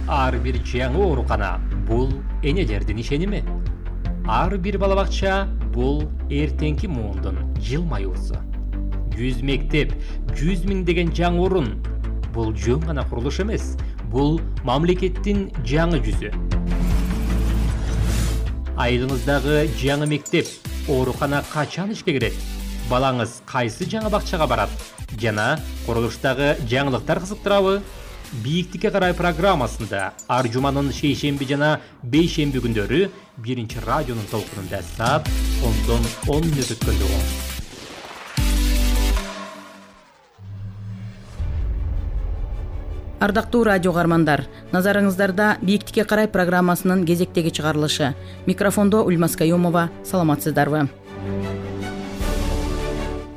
Ар бир жаңы оорукана бул энелердин ишеними. Ар бир балабакча бул эртеңки муундун жылмаюусу. 100 мектеп, 100 миңдеген жаңы орун. Бул жөн гана курулуш эмес, бул мамлекеттин жаңы жүзү. Айылыңыздагы жаңы мектеп, оорукана качан ишке кирет? Балаңыз кайсы жаңы бакчага барат? Жана курулуштагы жаңылыктар кызыктырабы? Бийиктикке карай программасында ар жуманын шейшемби жана бейшемби күндөрү биринчи радионун толкунунда саат 10 мүнөт өткөндө угуңуз. Ардактуу радио каармандар, назарыңыздарда Бийиктикке карай программасынын кезектеги чыгарылышы. Микрофондо Ульмас Каюмова, саламатсыздарбы?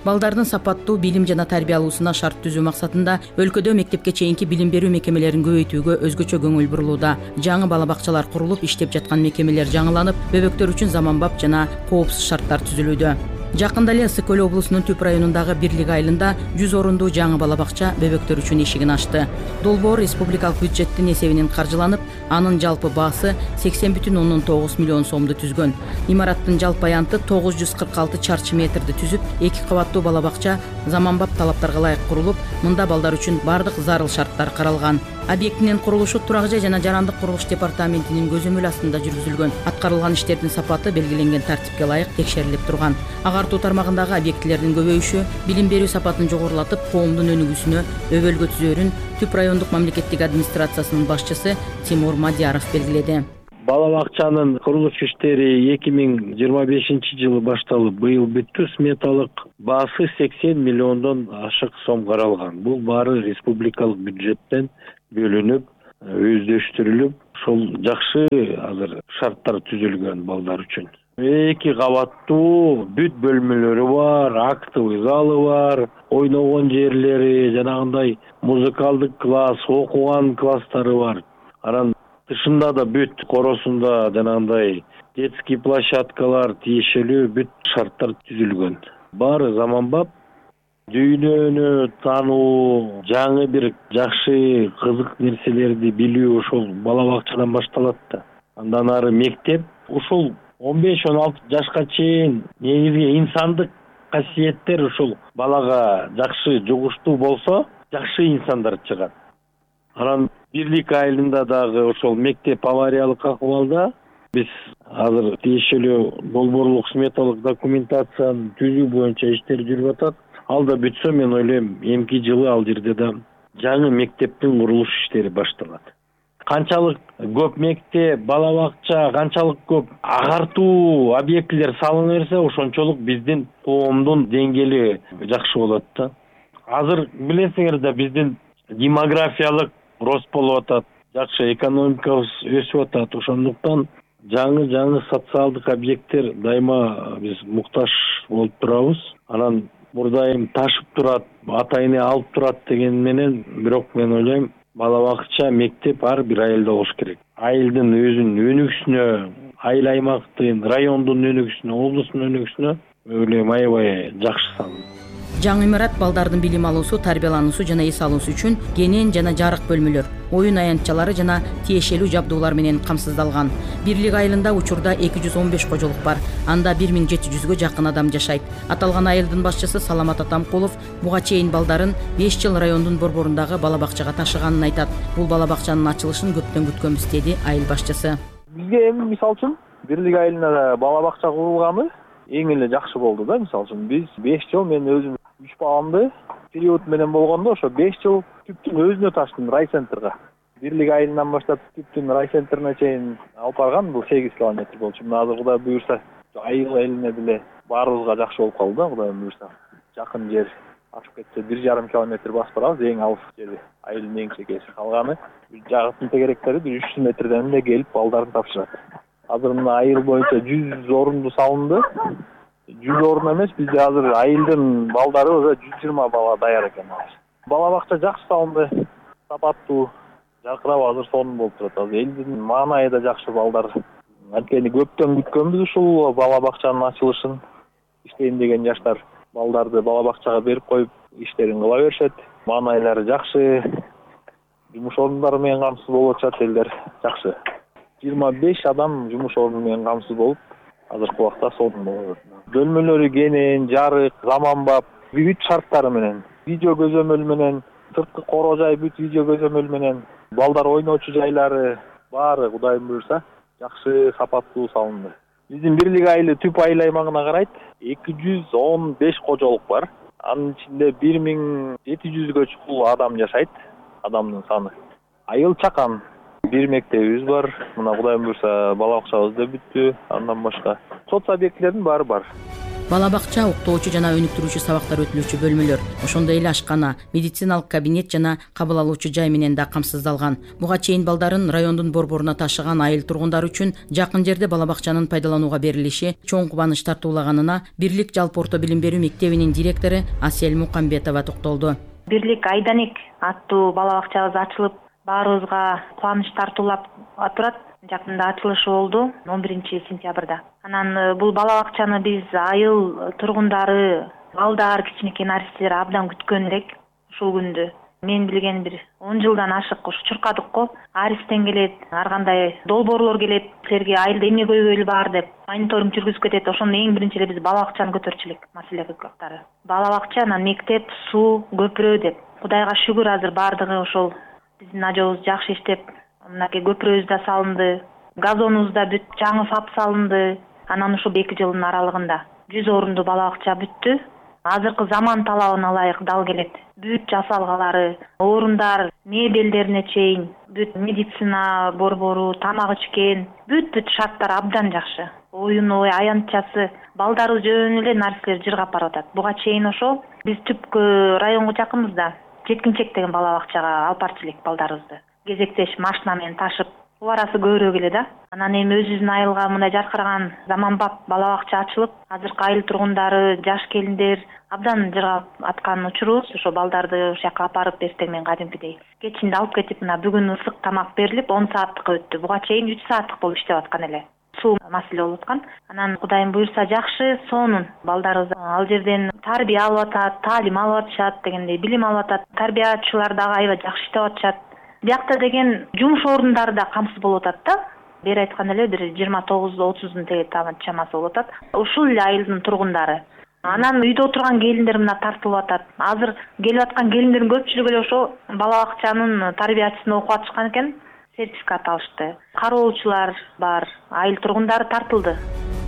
Балдардын сапаттуу билим жана тарбия алуусуна шарт түзүү максатында өлкөдө мектепке чейинки билим берүү мекемелерин көбөйтүүгө өзгөчө көңүл бурулууда. Жаңы бала бакчалар курулуп, иштеп жаткан мекемелер жаңыланып, бөбөктөр үчүн заманбап жана коопсуз шарттар түзүлүүдө. Жакында эле Ысык Көл облусунун Түп районундагы Бирлик айылында 100 орундуу жаңы бала бакча бөбөктөр үчүн эшигин ачты. Долбоор республикалык бюджеттин эсебинен каржыланып, анын жалпы баасы 80,9 миллион сомду түзгөн. Имараттын жалпы аянты 946 чарчы метрди түзүп, 2 кабаттуу бала бакча заманбап талаптарга ылайык курулуп, мында балдар үчүн бардык зарыл шарттар каралган. Объектинин курулушу Турак жай жана жарандык курулуш департаментинин көзөмөл астында жүргүзүлгөн. Аткарылган иштердин сапаты белгиленген тартипке ылайык текшерилип турган. Агартуу тармагындагы объектилердин көбөйүшү билим берүү сапатын жогорулатып, коомдун өнүгүүсүнө өбөлгө түзөрүн Түп райондук мамлекеттик администрациясынын башчысы Тимур Мадияров белгиледи. Бала бакчанын курулуш иштери 2025-жылы башталып, быйыл бүттү. Сметалык баасы 80 миллиондон ашык сом каралган. Бул баары республикалык бюджеттен бөлүнүп, өздөштүрүлүп, ошол жакшы азыр шарттар түзүлгөн балдар үчүн. 2 кабаттуу бүт бөлмөлөрү бар, актовый залы бар, ойногон жерлери, жанагындай музыкалдык класс, окуган класстары бар. Анан тышында да бүт коросунда жанагындай детский площадкалар тиешелүү бүт шарттар түзүлгөн. Баары заманбап, дүйнөнү таануу, жаңы бир жакшы кызык нерселерди билүү ошол бала бакчадан башталат да. Андан ары мектеп, ушул 15-16 жашка чейин негизги инсандык касиеттер ушул балага жакшы жугуштуу болсо, жакшы инсандар чыгат. Анан Бирлик айылында дагы ошол мектеп авариялык акыбалда. Биз азыр тиешелүү долбоорлук сметалык документацияны түзүү боюнча иштер жүрүп атат. Ал да бүтсө, мен ойлойм, эмки жылы ал жерде да жаңы мектептин курулуш иштери башталат. Канчалык көп мектеп, бала бакча, канчалык көп агартуу объектилер салына берсе, ошончолук биздин коомдун деңгээли жакшы болот да. Азыр билесиңер да, биздин демографиялык рост болуп атат, жакшы экономикабыз өсүп атат. Ошондуктан жаңы социалдык объекттер дайыма биз муктаж болуп турабыз. Анан мурдайым ташып турат, ата эне алып турат деген менен, бирок мен ойлойм, бала бакча, мектеп ар бир айылда болуш керек. Айылдын өзүнүн өнүгүсүнө, айыл аймактын, райондун өнүгүсүнө, облустун өнүгүсүнө ойлойм аябай жакшы салым. Жаңы имарат балдардын билим алуусу, тарбиялануусу жана эс алуусу үчүн кенен жана жарык бөлмөлөр, оюн аянтчалары жана тиешелүү жабдуулар менен камсыздалган. Бирлик айылында учурда 215 кожолук бар. Анда 1700гө жакын адам жашайт. Аталган айылдын башчысы Саламат Атамкулов буга чейин балдарын 5 жыл райондун борборундагы бала бакчага ташыганын айтат. Бул бала бакчанын ачылышын көптөн күткөнбүз, деди айыл башчысы. Бизге эми мисалы үчүн Бирлик айылында бала бакча курулганы эң эле жакшы болду да. Мисалы үчүн биз 5 жыл, мен өзүм 3 баламды период менен болгондо, ошо 5 жыл Түптүн өзүнө таштым, райцентрга. Бирлик айылынан баштап Түптүн райцентрine чейин алып барган, бул 8 километр болчу. Мына азыр Кудай буюрса, айыл элине деле баарыбызга жакшы болуп калды да, Кудай буюрса. Жакын жер ачып кетсе 1,5 километр басып барабыз, эң алыс жери, айылдын эң чекеси. Калганы жагатын тегеректери 300 метрден эле келип балдарын тапшырат. Азыр мына айыл боюнча 100 орунду салынды. 100 орун эмес, бизде азыр айылдын балдары уже 120 бала даяр экен. Бала бакча жакшы салынды, сапаттуу, жаркырап азыр сонун болуп турат. Азыр элдин маанайы да жакшы, балдар. Анткени көптөн күткөнбүз ушул бала бакчанын ачылышын. Иштейм деген жаштар балдарды бала бакчага берип коюп иштерин кыла беришет. Маанайлары жакшы. жумуш орундары менен камсыз болуп атышат элдер жакшы. 25 адам жумуш орду менен камсыз болуп, азыркы убакта сонун болуп атат. Бөлмөлөрү кенен, жарык, заманбап, бүт шарттары менен, видео көзөмөл менен, сырткы короо жай бүт видео көзөмөл менен, балдар ойночу жайлары баары Кудайым буйрса жакшы сапаттуу салынды. Биздин Бирлик айылы түп айыл аймагына карайт. 215 кожолук бар. Анын ичинде 1700гө чукул адам жашайт. Адамдын саны. Айыл чакан. Бир мектебибиз бар. Мына Кудайым буйрса бала бакчабыз да бүттү. Андан башка соц объектилердин баары бар. Бала бакча, уктоочу жана өнүктүрүүчү сабактар өтүлүүчү бөлмөлөр, ошондой эле ашкана, медициналык кабинет жана кабыл алуучу жай менен да камсыздалган. Буга чейин балдарын райондун борборуна ташыган айыл тургундары үчүн жакын жерде бала бакчанын пайдаланууга берилиши чоң кубаныч тартуулаганына Бирлик жалпы орто билим берүү мектебинин директору Асель Мукамбетова токтолду. Бирлик Айданик аттуу бала бакчабыз ачылып, баарыбызга кубаныч тартуулап турат. Жакында ачылышы болду 11-сентябрда. Анан бул бала бакчаны биз айыл тургундары, балдар, кичинекей наристер абдан күткөн элек ушул күндү. Мен билген бир 10 жылдан ашык ушу чуркадык го. Аристен келет, ар кандай долбоорлор келет, силерге айылда эмне көйгөйлү бар деп мониторинг жүргүзүп кетет. Ошондо эң биринчи эле биз бала бакчаны көтөрчү элек, маселе көктары. Бала бакча, анан мектеп, суу, көпүрө деп. Кудайга шүгүр, азыр бардыгы ошол биздин ажообуз жакшы иштеп, мынакей көпүрөбүз да салынды, газонубуз да бүт, жаңы фап салынды. Анан ушул 2 жылдын аралыгында 100 орунду бала бакча бүттү. Азыркы заман талабына ылайык дал келет. Бүт жасалгалары, орундар, мебелдерине чейин, бүт медицина борбору, тамак ичкен, бүт шарттар абдан жакшы. Оюн ой, аянтчасы, балдарыбыз жөн эле нарселер жыргап барып атат. Буга чейин ошол биз түпкү районго жакынбыз да. Жеткинчек деген бала бакчага алып барчу элек балдарыбызды. Кезектеш машина менен ташып, суу арасы көбүрөөк эле да. Анан эми өзүбүздүн айылга мындай жаркыраган заманбап бала бакча ачылып, азыркы айыл тургундары, жаш келиндер абдан жыргап аткан учурубуз. Ошо балдарды ошол жака алып барып эртең менен кадимкидей кечинде алып кетип, мына бүгүн ысык тамак берилип 10 сааттыкка өттү. Буга чейин 3 сааттык болуп иштеп аткан эле. Суу маселе болуп аткан. Анан Кудайым буйрса жакшы, сонун балдарыбыз ал жерден тарбия алып атат, таалим алып атышат дегендей, билим алып атат. Тарбиячылар дагы аябай жакшы иштеп атышат. Биякта деген жумуш орундары да камсыз болуп атат да. Бери айткан эле бир 29-30 теге чамасы болуп атат. Ушул эле айылдын тургундары. Анан үйдө отурган келиндер мына тартылып атат. Азыр келип аткан келиндердин көпчүлүгү эле ошо бала бакчанын тарбиячысында окуп атышкан экен, сертификат алышты. Кароочулар бар, айыл тургундары тартылды.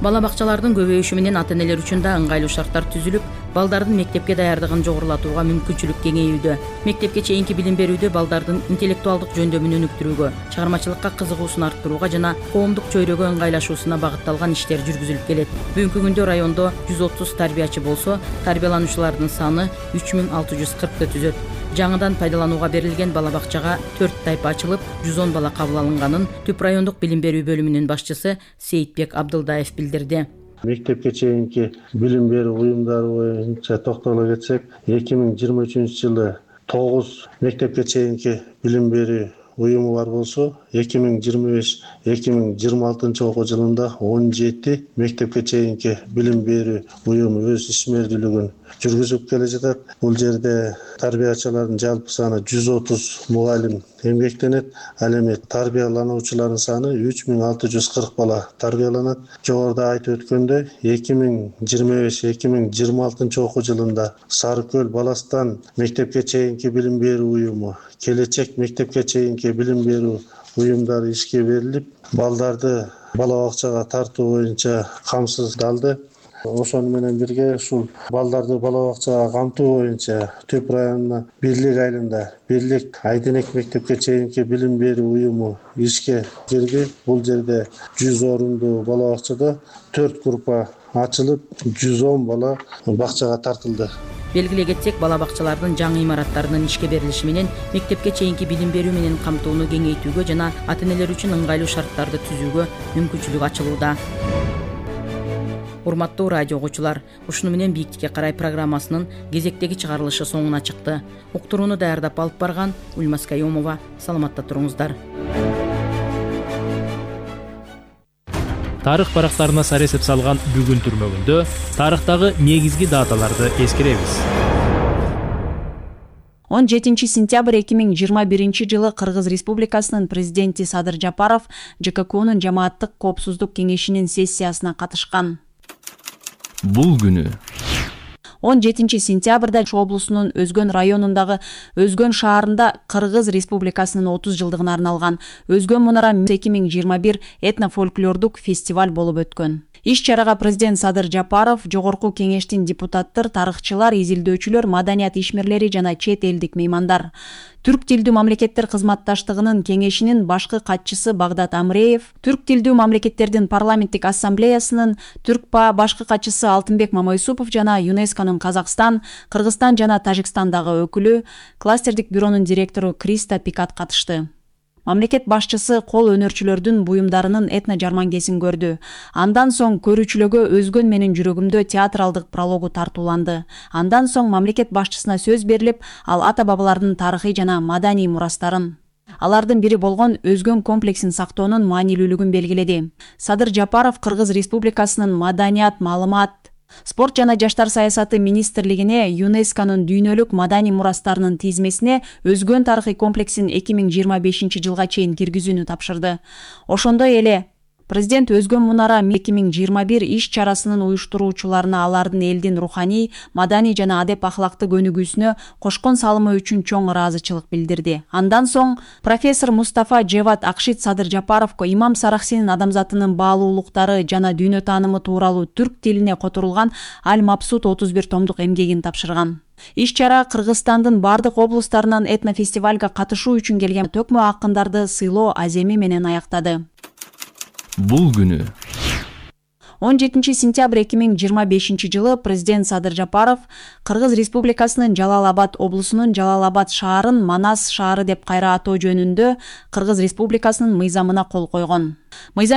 Бала бакчалардын көбөйүшү менен ата-энелер үчүн да ыңгайлуу шарттар түзүлүп, балдардын мектепке даярдыгын жогорулатууга мүмкүнчүлүк кеңейүүдө. Мектепке чейинки билим берүүдө балдардын интеллектуалдык жөндөмүн өнүктүрүүгө, чыгармачылыкка кызыгуусун арттырууга жана коомдук чөйрөгө ыңгайлашуусуна багытталган иштер жүргүзүлүп келет. Бүгүнкү күндө райондо 130 тарбиячы болсо, тарбиялануучулардын саны 3640 түзөт. Жаңыдан пайдаланууга берилген бала бакчага 4 тайпа ачылып, 110 бала кабыл алынганын Түп райондук билим берүү бөлүмүнүн башчысы Сейитбек Абдылдаев билдирди. Мектепке чейинки билим берүү уюмдары боюнча токтоло кетсек, 2023-жылы 9 мектепке чейинки билим берүү уюму бар болсо, 2025-2026 окуу жылында 17 мектепке чейинки билим берүү уюму өз ишмердүүлүгүн жүргүзүп келе жатат. Бул жерде тарбиячылардын жалпы саны 130 мугалим эмгектенет. Ал эми тарбиялануучулардын саны 3640 бала тарбияланат. Жогоруда айтып өткөндөй, 2025-2026 окуу жылында Сары Көл Баластан мектепке чейинки билим берүү уюму, Келечек мектепке чейинки билим берүү уюмдары ишке берилип, балдарды бала бакчага тартуу боюнча камсыздалды. Ошону менен бирге ушул балдарды бала бакчага камтуу боюнча Түп районуна Бирлик айылында Бирлик Айденек мектепке чейинки билим берүү уюму ишке кирди. Бул жерде 100 орунду бала бакчада 4 группа ачылып, 110 бала бакчага тартылды. Белгилей кетсек, бала бакчалардын жаңы имараттарынын ишке берилиши менен мектепке чейинки билим берүү менен камтууну кеңейтүүгө жана ата-энелер үчүн ыңгайлуу шарттарды түзүүгө мүмкүнчүлүк ачылууда. Урматтуу радио угуучулар, ушуну менен Бийиктикке карай программасынын кезектеги чыгарылышы соңуна чыкты. Уктурууну даярдап алып барган Ульмас Каюмова. Саламатта туруңуздар. Тарых барактарына сар эсеп салган бүгүн түрмөгүндө тарыхтагы негизги даталарды эскеребиз. 17 сентябрь 2021 жылы Кыргыз Республикасынын президенти Садыр Жапаров ЖККнун жамааттык коопсуздук кеңешинин сессиясына катышкан. Бул күнү 17 сентябрда Ош облусунун Өзгөн районундагы Өзгөн шаарында Кыргыз Республикасынын 30 жылдыгына арналган Өзгөн мунара 2021 этно-фольклордук фестиваль болуп өткөн. Иш-чарага президент Садыр Жапаров, жогорку кеңештин депутаттар, тарыхчылар, изилдөөчүлөр, маданият ишмерлери жана чет элдик меймандар, Түрк тилдүү мамлекеттер кызматташтыгынын кеңешинин башкы катчысы Багдат Амреев, Түрк тилдүү мамлекеттердин парламенттик ассамблеясынын Түркпа башкы катчысы Алтынбек Мамайсупов жана ЮНЕСКОнун Казакстан, Кыргызстан жана Тажикстандагы өкүлү, кластердик бюронун директору Криста Пикат катышты. Мамлекет башчысы кол өнөрчүлөрдүн буюмдарынын этно жармангесин көрдү. Андан соң көрүүчүлөргө Өзгөн менин жүрөгүмдө театралдык прологу тартууланды. Андан соң мамлекет башчысына сөз берилип, ал ата-бабалардын тарыхый жана маданий мурастарын, алардын бири болгон Өзгөн комплексин сактоонун маанилүүлүгүн белгиледи. Садыр Жапаров Кыргыз Республикасынын маданият, маалымат, спорт жана жаштар саясаты министрлигине ЮНЕСКОнун дүйнөлүк маданий мурастарынын тизмесине Өзгөн тарыхый комплексин 2025 жылга чейин киргизүүнү тапшырды. Ошондой эле президент Өзгөн мунара 2021 иш-чарасынын уюштуруучуларына алардын элдин руханий, маданий жана адеп ахлактык өнүгүүсүнө кошкон салымы үчүн чоң ыраазычылык билдирди. Андан соң профессор Мустафа Джеват Акшит Садыр Жапаровго Имам Сарахсинин адамзатынын баалуулуктары жана дүйнө таанымы тууралуу түрк тилине которулган Аль-Мабсут 31 томдук эмгегин тапшырган. Иш-чара Кыргызстандын бардык облустарынан этнофестивалга катышуу үчүн келген төкмө акындарды сыйлоо аземи менен аяктады. Бул күнү 17 сентябрь 2025 жылы президент Садыр Жапаров Кыргыз Республикасынын Жалал-Абад облусунун Жалал-Абад шаарын Манас шаары деп кайра атоо жөнүндө Кыргыз Республикасынын мыйзамына кол койгон. Мыйзам